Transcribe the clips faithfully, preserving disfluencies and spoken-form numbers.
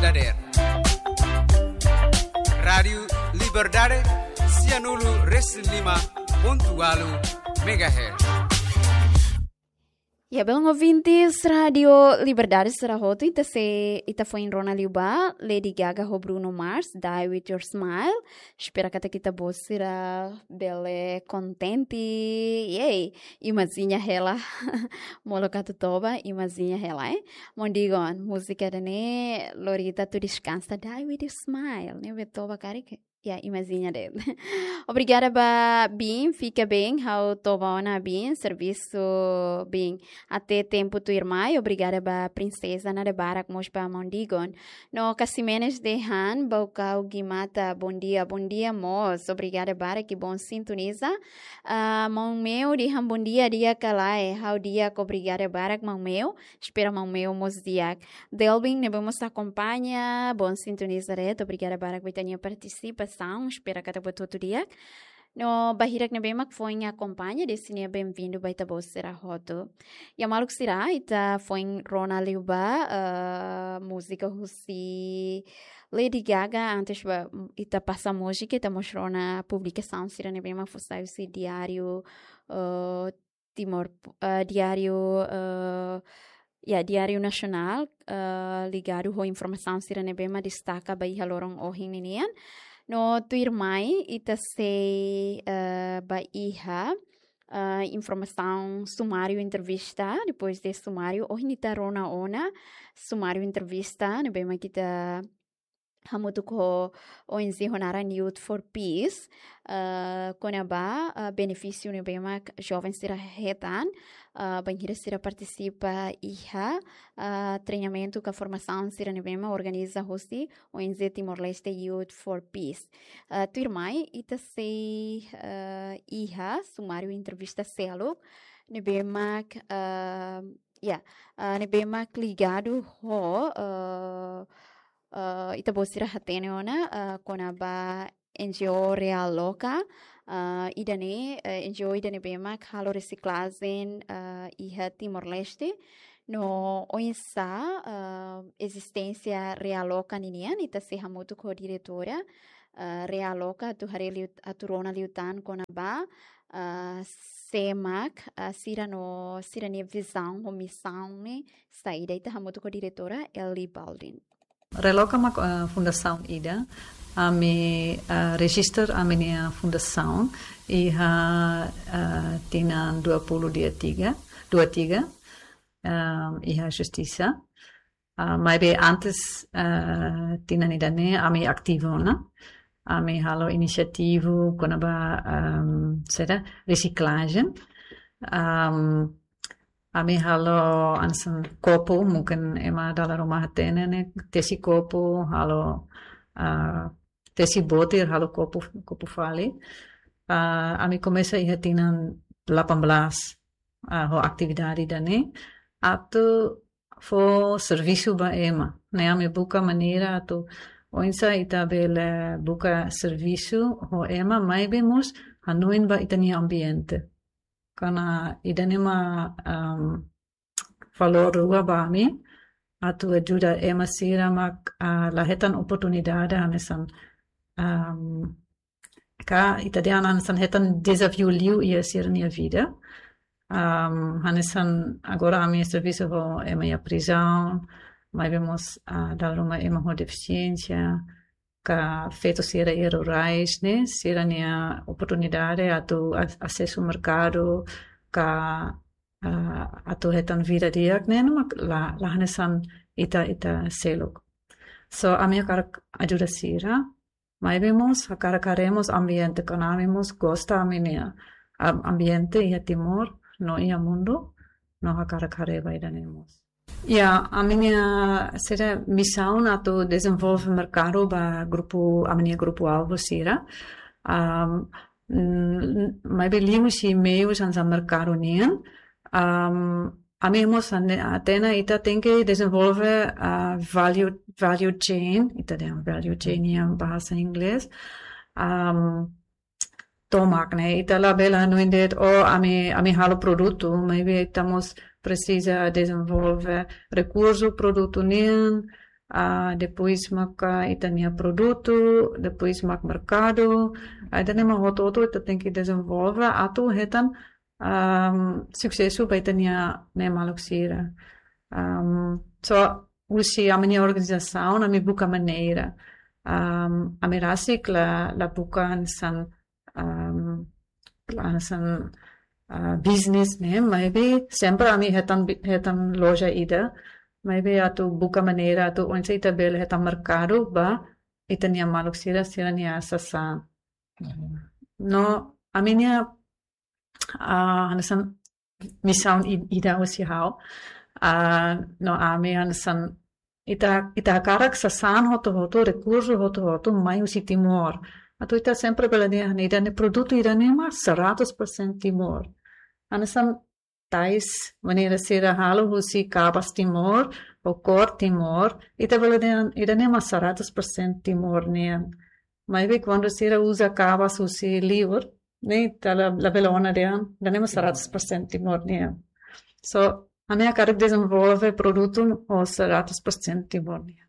dadeer. Rádiu Liberdade, sianulu resin lima pontu ualu megahertz. Ya, belun ouvintes Rádiu Liberdade sira hotu, ita sei, ita foin rona liubá Lady Gaga ho Bruno Mars, Die With Your Smile. Espera katak ita-boot sira bele kontente. Yay! Imajina hela. Molok atu toba, imajina hela, eh. Maun Digon, múzika ida-ne'e lori ita atu deskansa, Die With Your Smile. Ne'ebé toba karik, ya, imajina de'it. Obrigada ba Bin, fika bem, ha'u toba ona Bin, servisu Bin até tempu tuirmai. Obrigada ba Prinseza, nada barak mós ba maun Digon. No Casimenes de Han, Baucau Guimata, bom dia, bom dia mós. Obrigada barak, que bom sintoniza. Ah, maun Meo dehan bom dia, di'ak ka lae, ha'u di'ak, obrigada barak maun Meo. Espera maun Meo mós di'ak. Delvin, ne'ebé mós akompaña, bom sintoniza de'it, obrigada barak ba ita-nia partisipasaun, espera katak buat hotu di'ak. No ba hirak ne'ebé mak foin akompaña, desde ne'e bem-vindo ba ita-boot sira hotu. Ya maluk sira, ita foin rona liubá, eh, múzika husi Lady Gaga, antes ba ita pasa múzika, ita mós rona publikasaun sira ne'ebé mak fó sai husi diáriu, eh, Timor, eh, diáriu, eh, ya, Diáriu Nasionál, eh, ligadu ho informasaun sira ne'ebé mak destaka ba iha loron ohin ninian. No tuirmai ita sei, eh, ba iha, eh, informasaun sumáriu entrevista, depois de sumáriu, ohin ita rona ona sumáriu entrevista ne'ebé mak ita hamutuk ho O N G ho naran Youth for Peace, eh, kona-ba, eh, benefísiu ne'ebé mak joven sira hetan, eh, bainhira sira partisipa iha, eh, treinamentu ka formasaun sira ne'ebé mak organiza husi O N G Timor-Leste Youth for Peace. Eh, tuirmai, ita sei, eh, iha sumáriu entrevista seluk ne'ebé mak, eh, ya, eh, ne'ebé mak ligadu ho, eh, eh, ita-boot sira hatene ona, eh, kona-ba N G O Realoka, eh, ida-ne'e, eh, N G O ida ne'ebé mak halo resiklajen, eh, iha Timor-Leste. No oinsá, eh, ezisténsia Realoka ninian, ita sei hamutuk ho diretora, eh, Realoka atu haree liu, atu rona liután kona-ba, eh, sé mak, eh, sira no sira-nia vizaun ho misaun ne'e saida, ita hamutuk ho diretora Ellie Baldin. Realoka mak, eh, fundasaun ida. Ami, eh, rejista ami-nia fundasaun iha, eh, tinan dua puluh dua tiga, dua tiga, eh, iha Justisa. Ah, maibé antes, eh, tinan ida-ne'e ami ativu ona. Ami halo inisiativa kona-ba, ehm, saida, resiklajen. Ehm, ami halo hanesan kopu, mungkin ema dala ruma hatene ne'e, tesi kopu, halo, ah, tesi botir, halo kopu, kopu fali. Ah, ami komesa iha tinan delapan belas, ah, ho atividade ida-ne'e. Atu fó servisu ba ema. Ne'e ami buka maneira atu oinsá ita bele buka servisu ho ema, maibé mós hanoin ba ita-nia ambiente. Karena ida-ne'e mak, em, valór rua ba ami, atu ajuda ema sira mak, ah, la hetan oportunidade hanesan, em, ka ita dehan hanesan hetan dezafiu liu iha sira-nia vida. Em, hanesan agora ami servisu ho ema iha prizaun, maibé mós, ah, dala ruma ema ho defisiénsia, ka feto sira iha rurais ne'e, sira-nia oportunidade atu a-, asesu merkadu, ka, ah, atu hetan vida di'ak ne'e, no mak la, la hanesan ita, ita seluk. So, ami hakarak ajuda sira, maibé mós hakarak haree mós ambiente, karena ami mós gosta ami-nia am-, ambiente iha Timor, no iha mundu, no hakarak haree ba ida-ne'e mós. Ya, ami-nia, saida, misaun atu dezenvolve merkadu ba grupu, ami-nia grupu alvu sira. Am, mm, maibé liu husi meius hanesan merkadu nian. Am, ami mós hane-, hatene ita tenke dezenvolve, ah, value, value chain, ita dehan value chain iha bahasa Inglés. Am, tomak ne'e, ita labele hanoin de'it, oh, ami, ami halo produtu, maibé ita mós presiza dezenvolve rekursu produtu nian, ah, depois mak, ah, ita-nia produtu, depois mak merkadu. Ah, ida-ne'e mak hotu-hotu ita tenke dezenvolve atu hetan, am, susesu ba ita-nia maluk sira. Am, so, husi ami-nia organizasaun, ami buka maneira. Am, ami rasik la, la buka hanesan, am, la hanesan, ah, business ne'e, maibé sempre ami hetan bi-, hetan loja ida. Maibé atu buka maneira atu oinsá ita bele hetan merkadu ba ita-nia maluk sira, sira-nia sasán. No, ami-nia, ah, hanesan misaun i-, ida husi ha'u. Ah, no, ami hanesan ita, ita hakarak sasán hotu-hotu, rekursu hotu-hotu mai husi Timor. Atu ita sempre bele dehan ida-ne'e produtu ida-ne'e mak seratus persen Timor. Hanesan tais maneira sira halo husi kabas Timor, ou kór Timor, ita bele dehan ida-ne'e mak seratus persen Timor nian. Maibé kuandu sira uza kabas husi liur, ne'e ita la, labele ona dehan ida-ne'e mak seratus persen Timor nian. So, ami hakarak dezenvolve produtu ho seratus persen Timor nian.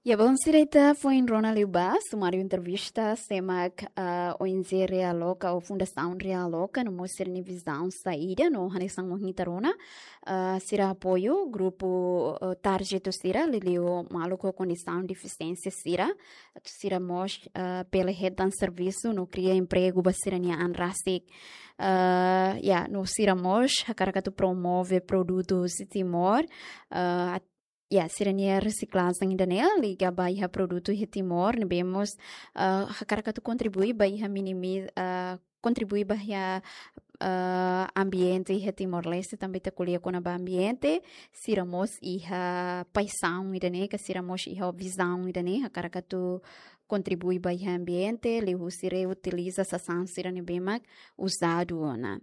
Ya, bon, sira, ita foin rona liubá sumáriu entrevista, sé mak, ah, O N G Realoka ou Fundasaun Realoka, no mós sira-nia vizaun saida, no hanesan ohin ita rona, ah, sira apoiu grupu, ah, tarjetu sira, liuliu maluk ho kondisaun defisiénsia sira, atu sira mós, ah, bele hetan servisu no kria empregu ba sira-nia an rasik. Ah, ya, no sira mós hakarak atu promove produtu husi Timor, ah, at-, ya, sira-nia resiklajen ida-ne'e liga ba iha produtu iha Timor, ne'ebé mós, ah, hakarak atu kontribui ba iha minimi-, ah, kontribui ba iha, ah, ambiente iha Timor-Leste, tanba ita ko'alia kona-ba ambiente, sira mós iha paixaun ida-ne'e, ka sira mós iha vizaun ida-ne'e, hakarak atu kontribui ba iha ambiente, liuhusi reutiliza sasán sira ne'ebé mak uzadu ona.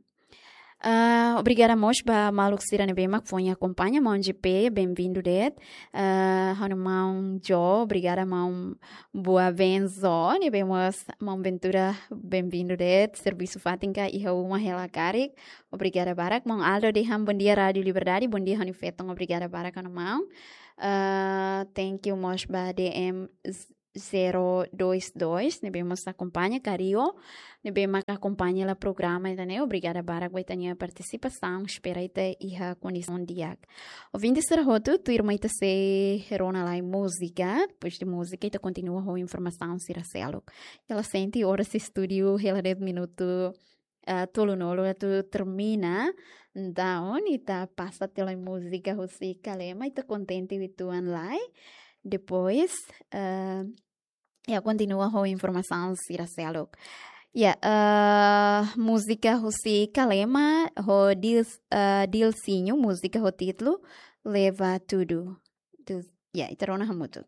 Ah, obrigada mós ba maluk sira ne'ebé mak foin akompaña, maun J P, bem-vindu de'it. Ah, ha'u-nia maun Jo, obrigada maun Boa Benzo, ne'ebé mós maun Ventura, bem-vindu de'it, servisu fatin ka iha uma hela karik. Obrigada barak. Maun Aldo dehan bondia Rádiu Liberdade, bondia ha'u-nia feton, obrigada barak ha'u-nia maun. Ah, thank you mós ba D M zero dois dois, ne'ebé mós akompaña, Kario, ne'ebé mak akompaña hela programa ida-ne'e, obrigada barak ba ita-nia partisipasaun, espera ita iha kondisaun di'ak. Ouvinte sira hotu, tuirmai ita sei rona lai múzika, depois de múzika ita kontinua ho informasaun sira seluk. Hela sente oras estúdiu, hela de'it minutu, ah, tolunulu atu termina. Entaun, ita pasa tiha lai múzika husi Kalema, ita kontente uitoan lai. Depois, ah, ya, kontinua ho informasaun sira seluk. Ya, ah, múzika husi Kalema, ho Dils-, ah, Dilsinho, múzika ho títulu Leva Tudo. Dils-, ya, ita rona hamutuk.